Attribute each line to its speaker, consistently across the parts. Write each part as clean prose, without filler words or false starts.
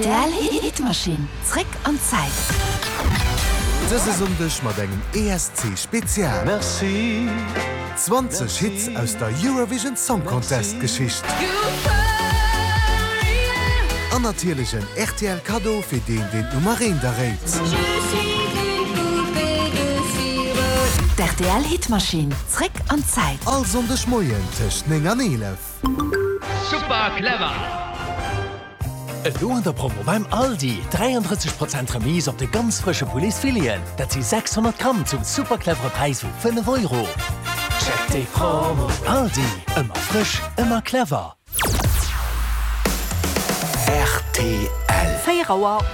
Speaker 1: D'RTL Hitmaschinn, zréck an d'Zäit.
Speaker 2: Dëse Sonndeg mat engem ESC Spezial. 20 Hits aus der Eurovision Song Contest Geschicht. An natierlech en rtl Kaddo fir deen deen d'Nummer eent erréit.
Speaker 1: D'RTL Hitmaschinn, zréck an d'Zäit.
Speaker 2: All Sonndeg Moien tëscht 9 an 11.
Speaker 3: Super clever!
Speaker 4: Elo an der Promo beim Aldi, 33 Prozent Remise op de ganz frësche Pouletsfileten, dat si 600 Gramm zum super clevere Präis vu 5 Euro. Check déi Promo! Aldi, ëmmer frësch, ëmmer clever.
Speaker 5: Rtl.
Speaker 6: 4 Auer.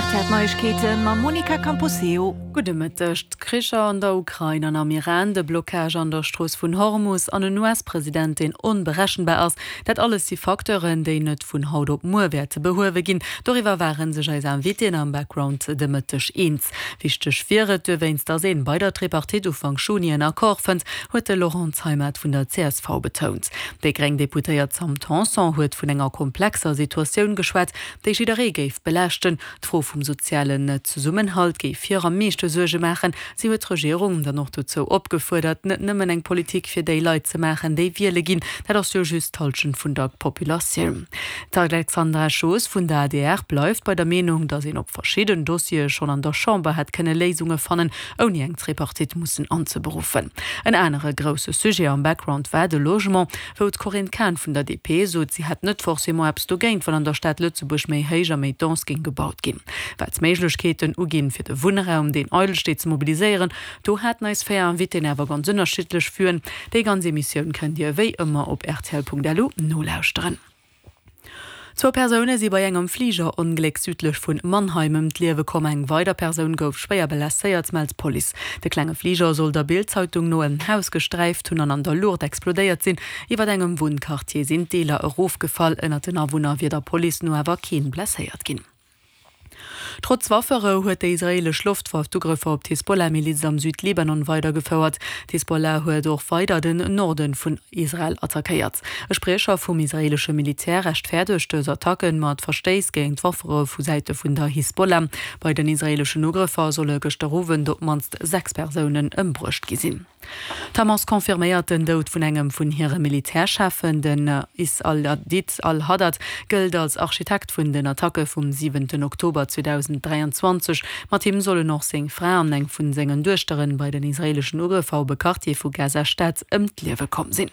Speaker 6: Rtl Neiegkeete mam Monica Camposeo.
Speaker 7: Gudde Mëtteg. D'Kricher an der Ukrain an am Iran, de Blockage an der Strooss vun Hormus an en US-President, deen onberechenbar ass, dat alles si Facteuren, déi net vun haut op muer wäerte behuewe ginn. Doriwwer ware sech eis Invitéen am Background de Mëtteg eens. Wichteg wier et dowéinst, datt een bei der Tripartite Ufank Juni en Accord fënnt, huet de Laurent Zeimet vun der csv betount. Déi gréng Deputéiert Sam Tanson huet vun enger komplexer Situatioun geschwat, déi jidderee géif belaaschten. D'Fro vum sozialen Zesummenhalt géif hir am meeschte Suerge maachen. Si huet d'Regierung dann och dozou opgefuerdert, net nëmmen eng Politik fir déi Leit ze maachen, déi wiele ginn. Dat ass jo just d'Hallschent vun der Populatioun. D'Alexandra Schoos vun der adr bleift bei der Meenung, datt een op verschidden Dossiere schonn an der Chamber hätt kënne Léisunge fannen, ouni eng Tripartite mussen anzeberuffen. En anere grousse Sujet am Background war de Logement. Wou d'Corinne Cahen vun der DP sot, si hätt net forcément eppes dogéint, wann an der Stad Lëtzebuerg méi héich a méi dense géing gebaut ginn. Wat d'Méiglechkeeten uginn, fir de Wunnraum, deen eidel steet, ze mobiliséieren, do haten eis 4 Invitéen awer ganz ënnerschiddlech Vuen. Déi ganz Emissioun kënnt Dir wéi ëmmer op rtl.lu nolauschteren. Zwou Persoune si bei engem Fligerongléck südlech vun Mannheim ëm d'Liewe komm. Eng weider Persoun gouf schwéier blesséiert, mellt d'Police. De klenge Fliger soll der Bild-Zeitung no en Haus gesträift hunn an an der Luucht explodéiert sinn. Iwwer engem Wunnquartier sinn d'Deeler erofgefall. Ënnert den Awunner wier der Police no awer keen blesséiert ginn. Trotz Wafferou huet déi israeelesch Loftwaff d'Ugrëffer op d'Hisbollah-Miliz am Südlibanon weidergefouert. D'Hisbollah huet och weider den Norde vun Israel attackéiert. E Spriecher vum israeelesche Militär rechtfäerdegt dës Attacken mat Verstéiss géint d'Wafferou vu Säite vun der Hisbollah. Bei den israeeleschen Ugrëffer solle gëschter Owend op d'mannst 6 Persounen ëmbruecht gi sinn. D'Hamas confirméiert den Doud vun engem vun hire Militärcheffen. Den Is al-Adid al-Haddad gëllt als Architekt vun den Attacke vum siwenten Oktober 2023. Mat him sollen och seng Fra an eng vun sengen Duechteren bei den israeeleschen Ugrëffer op e Quartier vu Gaza-Stad ëm d'Liewe komm sinn.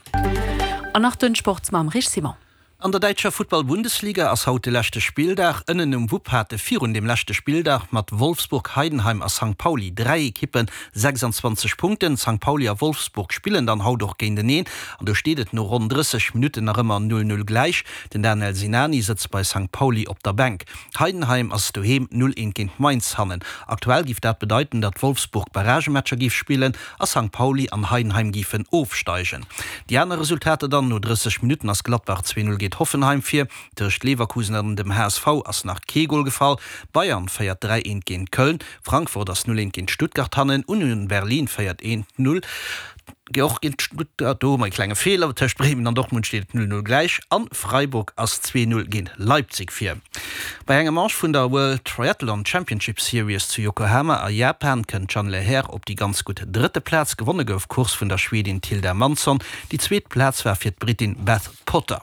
Speaker 7: An nach den Sport mam Rich Simon.
Speaker 8: An der däitscher Futtball-Bundesliga ass haut de leschte Spilldag. Ënnen um Wupp hate virun dem leschte Spilldag mat Wolfsburg, Heidenheim a Sankt Pauli 3 Ekippe 26 Punkten. Sankt Pauli a Wolfsburg spillen dann haut och géinteneen an do steet et no ronn 30 Minutten nach ëmmer 0, 0 gläich. Den Danel Sinani sëtzt bei Sankt Pauli op der Bänk. Heidenheim ass doheem 0, 1 géint Mainz hannen. Aktuell giff dat bedeiten, datt Wolfsburg Barragematcher giff spillen a Sankt Pauli an Heidenheim géifen ofsteigen. Déi aner Resultater dann, No 30 Minutten ass Gladbach 2, 0 géint Hoffenheim vir, tëscht Leverkusen an dem HSV ass nach kee Gol gefall, Bayern féiert 3, 1 géint Köln, Frankfurt ass 0, 1 géint Stuttgart hannen, Union Berlin féiert 1, 0 och géint Stuttgart, do hu mer e klenge Feeler, tëscht Bremen an Dortmund steet et 0, 0 gläich an Freiburg ass 2, 0 géint Leipzig vir. Bei enger Manche vun der World Triathlon Championship Series zu Yokohama a Japan kënnt d'Jeanne Lehair op déi ganz gutt drëtte Plaz. Gewonne gouf d'Course vun der Schwedin Tilda Mansson, déi zweet Plaz war fir d'Brittin Beth Potter.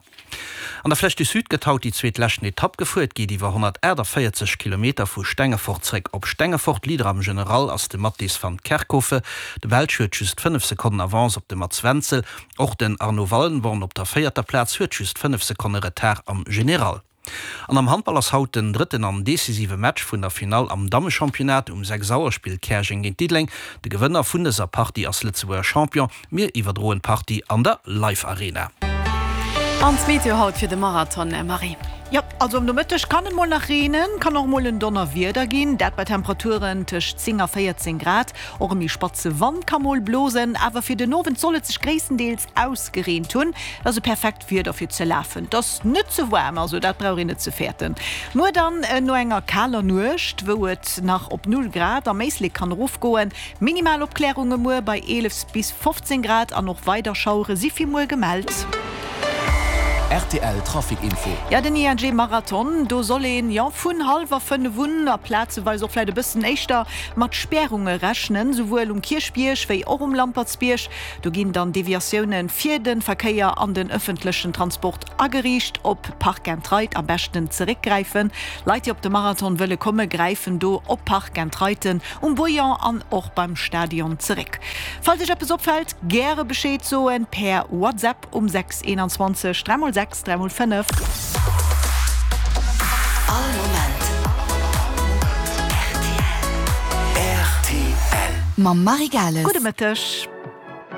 Speaker 8: An der Flèche du Sud gëtt haut déi zweet leschten Etapp gefuer. Et geet iwwer 148 Kilometer vu Stengefort zeréck op Stengefort. Leader am General ass de Mattis van Kerkhove. De Belsch huet just 5 Sekonnen Avance op de Mats Wenzel. Och den Arno Wallenborn op der véierter Plaz huet just 5 Sekonne Retard am General. An am Handball ass haut den drëtten an decisive Match vun der Finall am Dammechampionnat. Um 6 Auer spillt Käerjeng géint Diddeleng. De Gewënner vun dëser Partie ass Lëtzebuerger Champion. Mir iwwerdroen d'Partie an der Live Arena.
Speaker 7: An d'Meteo haut fir de Marathon, Marie?
Speaker 6: Jo, also am Nomëtteg kann et mol nach reenen, kann och mol en Donnerwieder ginn, dat bei Temperaturen tëscht 10 a 14 Grad. Och e méi spatze Wand ka mol blosen, awer fir den Owend soll et sech gréisstendeels ausgereent hunn. Et ass e perfekt Wieder fir ze lafen. Et ass net ze waarm, also dat brauch een net ze fäerten. Muer dann no enger kaler Nuecht, wou et nach op 0 Grad am Éislek kann erofgoen. Minimal Opklärunge muer bei 11 bis 15 Grad an och weider Schauere si fir muer gemellt.
Speaker 4: Rtl Trafic Info.
Speaker 6: Jo, den ING Marathon, do soll een, jo, vun hallwer 5 un a plazeweis och vläit e bëssen éischter mat Spärunge rechnen, souwuel um Kierchbierg wéi och um Lampertsbierg. Do ginn dann Deviatioune fir de Verkéier an den ëffentlechen Transport ageriicht. Op Park and Ride am beschten zeréckgräifen. Leit, déi op de Marathon wëlle komme gräifen do op Park and Riden um Bouillon an och beim Stadion zeréck. Falls Iech eppes opfält, gäre Bescheed soen per WhatsApp um 6 21 3 x 6 3 x 5.
Speaker 1: All Moment rtl. Mam Marie Gales.
Speaker 6: Gudde Mëtteg.